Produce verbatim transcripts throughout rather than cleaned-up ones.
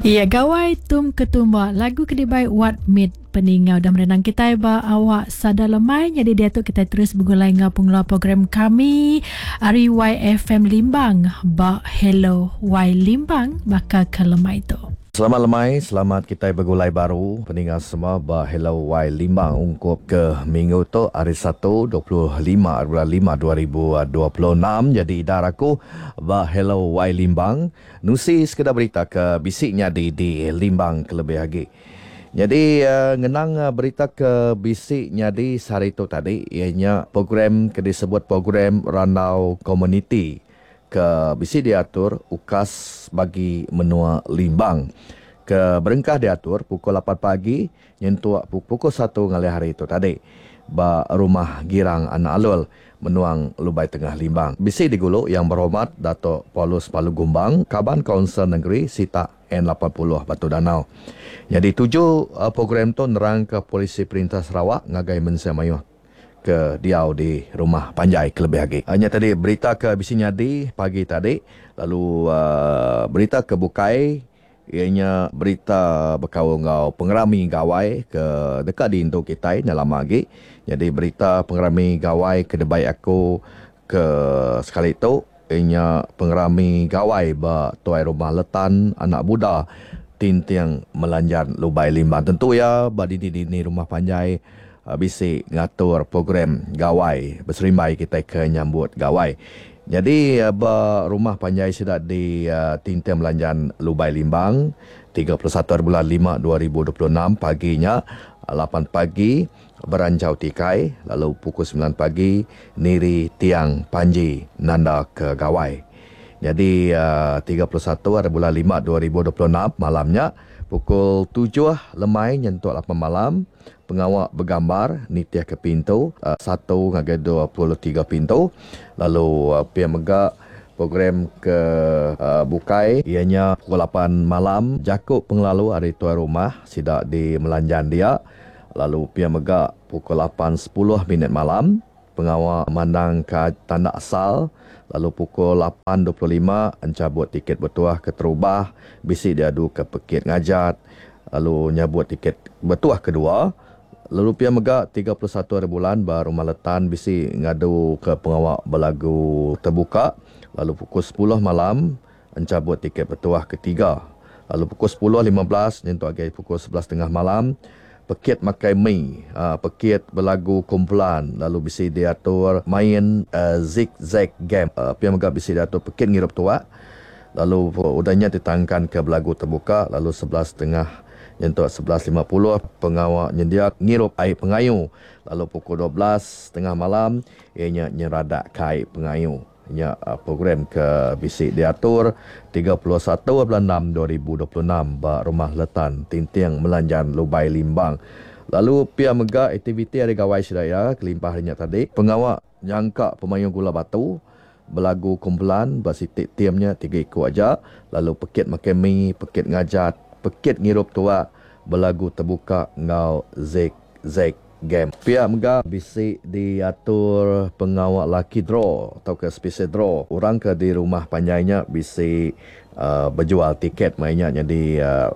Iya Gawai Tum Ketumba, lagu ke dibai Wat Mit peningau dan merenang kita ba awak sada lemai. Jadi dia tu kita terus bergulai ngau pengelola program kami ari Y F M Limbang ba Hello Y Limbang bakal ke lemai tu. Selamat lemai, selamat kita bergulai baru peningat semua ba Hello Y Limbang ungkup ke minggu tu hari Satu dua puluh lima bulan lima dua ribu dua puluh enam. Jadi idar aku ba Hello Y Limbang nusi sekedar berita ke bisik nyadi di Limbang kelebih lagi. Jadi uh, ngenang uh, berita ke bisik nyadi sehari tu tadi ianya program ke disebut program Randau Community ke bisi diatur ukas bagi menua Limbang. Ke berengkah diatur pukul lapan pagi nyentuk pukul satu ngalih hari itu tadi ba Rumah Girang Anak Alul Menuang Lubai Tengah Limbang. Bisi digulu yang berhormat Dato' Paulus Palu Gumbang, Kaban Kaunsil Negeri Sitak N lapan puluh Batu Danau. Jadi tuju uh, program tu nerang ke polisi perintah Sarawak ngagai mensia mayuh ke diau di rumah panjai kelebih lagi. Hanya tadi berita ke bisi nyadi pagi tadi, lalu uh, berita ke bukai ianya berita berkaul ngau pengerami gawai ke dekat di Indo kita ni lama lagi. Jadi berita pengerami gawai ke debai aku ke sekali tu ianya pengerami gawai ba tuai rumah Letan Anak Buda Tinting Melanjan Lubai Limbang. Tentu ya ba dini-dini rumah panjai bisi ngatur program gawai berserimbai kita ke nyambut gawai. Jadi ba rumah panjai sida di uh, Tinting Melanjan Lubai Limbang tiga puluh satu bulan lima dua ribu dua puluh enam paginya lapan pagi beranjau tikai, lalu pukul sembilan pagi niri tiang panji nanda ke gawai. Jadi uh, tiga puluh satu hari bulan lima dua ribu dua puluh enam malamnya pukul tujuh lemai nyentuk lapan malam pengawak bergambar nitiah ke pintu uh, satu ngagai dua puluh tiga pintu. Lalu uh, pia mega program ke uh, bukai ianya pukul lapan malam jakuk pengelalu hari tuan rumah sida di Melanjan dia. Lalu pia mega pukul lapan sepuluh minit malam pengawak mandang ke tanda asal. Lalu pukul lapan dua puluh lima encabut tiket bertuah ke terubah bisi diadu ke pekit ngajat, lalu nyabut tiket bertuah kedua. Lalu pia mega tiga puluh satu hari bulan ba Rumah Letan bisi ngadu ke pengawak belagu terbuka. Lalu pukul sepuluh malam encabut tiket bertuah ketiga. Lalu pukul sepuluh lima belas nyentuk agi pukul sebelas setengah malam pekit makai mi, uh, pekit belagu kumpulan, lalu bisi diatur main uh, zigzag game. Uh, pia mega bisi diatur pekit ngirup tuak. Lalu udahnya ditangkan ke belagu terbuka. Lalu sebelas setengah nyentuk sebelas lima puluh pengawak nyendia ngirup air pengayu. Lalu pukul dua belas setengah malam ianya nyeradak kai pengayu. Nya uh, program ke bisi diatur tiga puluh satu bulan enam dua ribu dua puluh enam ba Rumah Letan Tinting Melanjan Lubai Limbang. Lalu pia mega aktiviti hari gawai sedaya kelimpah harinya tadi pengawak nyangka pemayung gula batu belagu kumpulan ba sitik timnya tiga ikut aja. Lalu pekit makan mi, pekit ngajat, pekit ngirup tuak, belagu terbuka ngau zig-zag game. Pihak mega bisi diatur pengawak lucky draw atau ke special draw. Orang ke di rumah panjainya bisi uh, berjual tiket mainnya jadi uh,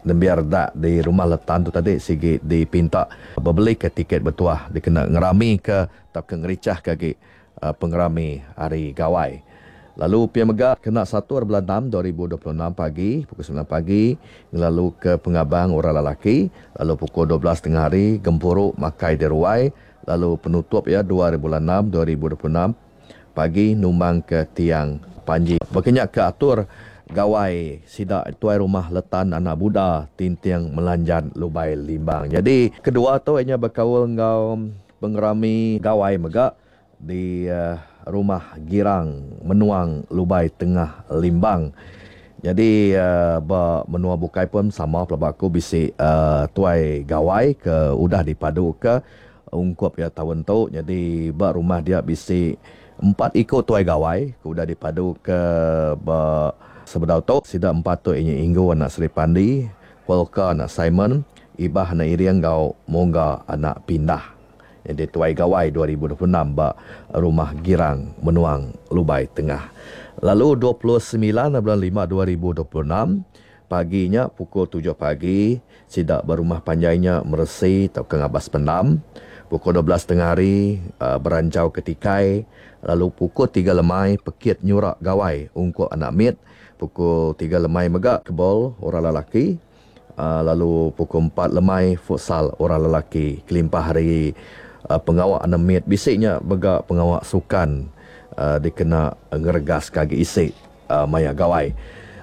nembiar dak di rumah Letan tu tadi sigi dipinta berbeli ke tiket bertuah dikena ngerami ke atau ke ngericah ke lagi uh, pengerami hari gawai. Lalu pia mega kena satu bulan enam dua ribu dua puluh enam pagi pukul sembilan pagi lalu ke pengabang orang lelaki, lalu pukul dua belas tengah hari gempuruk makai di ruai, lalu penutup ya dua bulan enam dua ribu dua puluh enam pagi numbang ke tiang panji. Berkenyak ke atur gawai sida tuai rumah Letan Anak Buda Tinting Melanjan Lubai Limbang. Jadi kedua tu ianya berkaul ngau pengerami gawai mega di uh, Rumah Girang Menuang Lubai Tengah Limbang. Jadi uh, ba menua bukai pun sama pelaba aku bisi uh, tuai gawai ke udah dipadu ke ungkup ya tahun tu. Jadi ba rumah dia bisi empat ikut tuai gawai ke udah dipadu ke ba sebedau tu. Sida empat tu inya Inggu anak Sri Pandi, Polka anak Simon, Ibah anak Iriang gau Mongga anak Pindah. Jadi tuai gawai dua ribu dua puluh enam ba Rumah Girang Menuang Lubai Tengah. Lalu dua puluh sembilan bulan lima dua ribu dua puluh enam Paginya pukul tujuh pagi sida berumah panjainya meresi atau ke ngabas pendam. Pukul dua belas tengah hari uh, beranjau ke tikai. Lalu pukul tiga lemai pekit nyurak gawai ungkup anak mit. Pukul tiga lemai mega kebol orang lelaki. Uh, lalu pukul empat lemai futsal orang lelaki. Kelimpah hari uh, pengawak anak mit bisiknya mega pengawak sukan uh, dikena ngeregas kagi isi uh, maya gawai.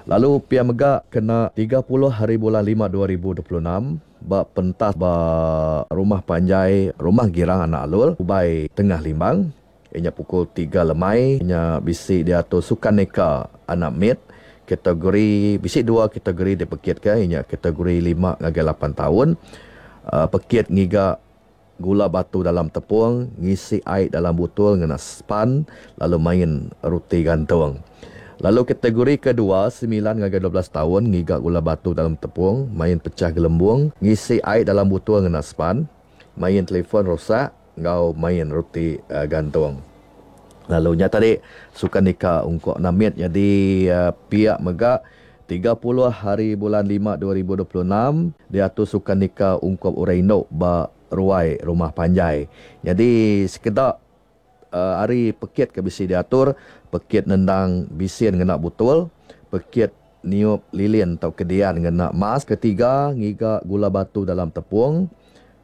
Lalu pia mega kena tiga puluh hari bulan lima dua ribu dua puluh enam ba pentas ba rumah panjai Rumah Girang Anak Alul Ubai Tengah Limbang. Ianya pukul tiga lemai ianya bisi diatur sukan neka anak mit. Kategori bisi dua kategori dipekit ke ianya kategori lima ngagai lapan tahun. Uh, pekit ngiga gula batu dalam tepung, ngisi air dalam botol ngena span, lalu main roti gantung. Lalu kategori kedua, sembilan ngagai dua belas tahun, ngiga gula batu dalam tepung, main pecah gelembung, ngisi air dalam botol ngena span, main telefon rosak, ngau main roti uh, gantung. Lalu nya tadi sukan nika ungkok namit jadi uh, pihak mega tiga puluh hari bulan lima dua ribu dua puluh enam diatur sukan nika ungkop orang induk ba ruai rumah panjai. Jadi sekedak uh, hari pekit ke bisi diatur, pekit nendang bisin ngena botol, pekit niup lilin atau kedian ngena mas, ketiga ngiga gula batu dalam tepung,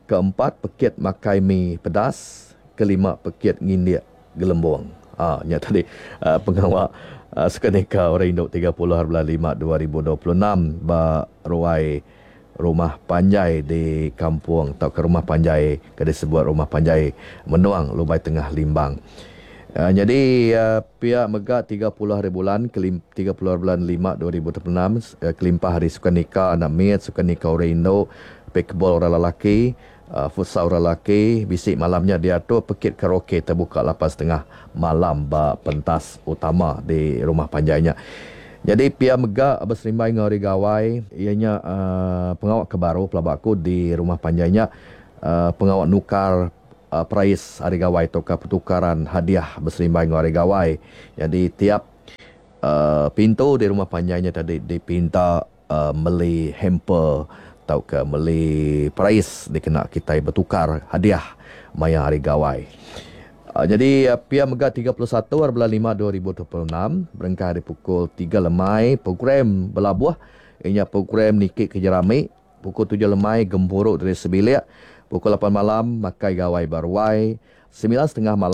keempat pekit makai mi pedas, kelima pekit ngindik gelembung. Ah, nya tadi uh, pengawak uh, sukaneka orang induk tiga puluh hari bulan lima dua ribu dua puluh enam ba ruai rumah panjai di kampung atau ke rumah panjai ke disebut rumah panjai Menuang Lubai Tengah Limbang. Uh, jadi uh, pihak mega tiga puluh hari bulan kelim, tiga puluh hari bulan lima dua ribu dua puluh enam uh, kelimpah hari sukaneka anak mit, sukaneka orang induk, pickleball orang lelaki, uh, futsal orang lelaki, bisik malamnya diatur pekit karaoke terbuka lapan setengah malam ba pentas utama di rumah panjainya. Jadi pia mega berserimbai dengan hari gawai ianya uh, pengawak ke baru pelabaku di rumah panjainya uh, pengawak nukar uh, perais hari gawai atau ke pertukaran hadiah berserimbai dengan hari gawai. Jadi tiap uh, pintu di rumah panjainya tadi dipinta uh, meli hamper atau ke meli perais dikena kita bertukar hadiah maya hari gawai. Uh, jadi uh, pia mega tiga puluh satu hari bulan lima dua ribu dua puluh enam berengkah hari pukul tiga lemai program belabuh ianya program nikik ke jerami pukul tujuh lemai gempuruk dari sebilik pukul lapan malam makai gawai baruai sembilan setengah malam